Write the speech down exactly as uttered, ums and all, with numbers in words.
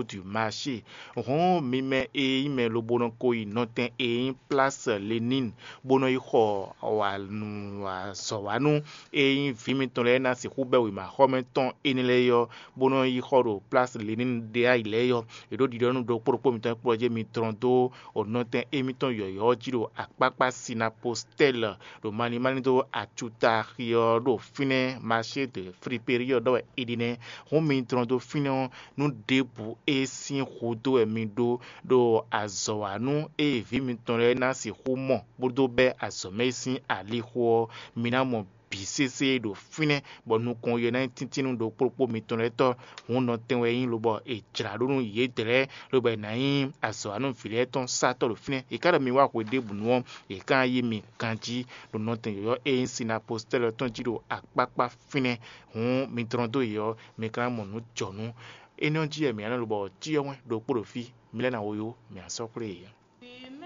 du marché. Hɔn mi mɛ e nyí mɛ lobo nɔ ko yi nɔtɛn e nyí Place Lénine bó nɔ yi xɔ wǎnu azɔ̌wánu e nyí vǐ mitɔn lɛ́ɛ ná sixú bɛ́ wěmaxɔmɛ tɔn énɛ́ lɛ́ɛ ɔ́, bó nɔ yi xɔ ɖo Place Lénine ɖe ayǐ lɛ́ɛ ɔ́. È ɖǒ ɖiɖɔ́ nú ɖokpó ɖokpó mitɔn kplɔ́ jɛ mi dlɔ́n dó nɔtɛn émítɔn yɔ̌yɔ́ ɔ́ jí ɖo akpákpá Sinapostɛ́l ɖo malín málín dó acuta xi ɔ́ ɖo fínɛ́. Marché de Friperie ɔ́ ɖɔ wɛ è ɖi nɛ́. Hɔn mi dlɔ́n dó fínɛ́ ɔ́, nú ɖěbǔ e sín hudó wɛ mi ɖó ɖo azɔ̌ wa nú ée vǐ mitɔn lɛ́ɛ ná sixú mɔ bó dó bɛ́ azɔ̌ mɛ e sín alixo ɔ́, mi ná mɔ bǐ sésé ɖo fínɛ́, bɔ nukɔn yɔ ná nyí tíntín nú ɖokpó ɖokpó mitɔn lɛ́ɛ tɔ́. Hǔn nɔtɛn wɛ é nyí lobɔ è jlǎ ɖó nú yědɛɛ lɛ́ɛ, lobɔ è nǎ nyí azɔ̌ wa nú vǐ lɛ́ɛ tɔn sátɔ́ ɖo fínɛ́. È ká ɖɔ mi wá hwedébǔnu ɔ́, è ká ná yí mi ganjí ɖo nɔtɛn yɔ̌yɔ́ e nyí Sinapostɛ́li ɔ́ tɔn jí ɖo akpákpá fínɛ́. Hǔn mi dlɔ́n dó yě ɔ́, mi ka ná mɔ nǔ jɔ̌nú. Énɛ́ ɔ́ jí wɛ mǐ ná nɔ lobɔ cyɔ wɛn ɖokpó ɖo fí, mi lɛ́ ná wo yó, mǐ ná sɔ́ xwlé yě.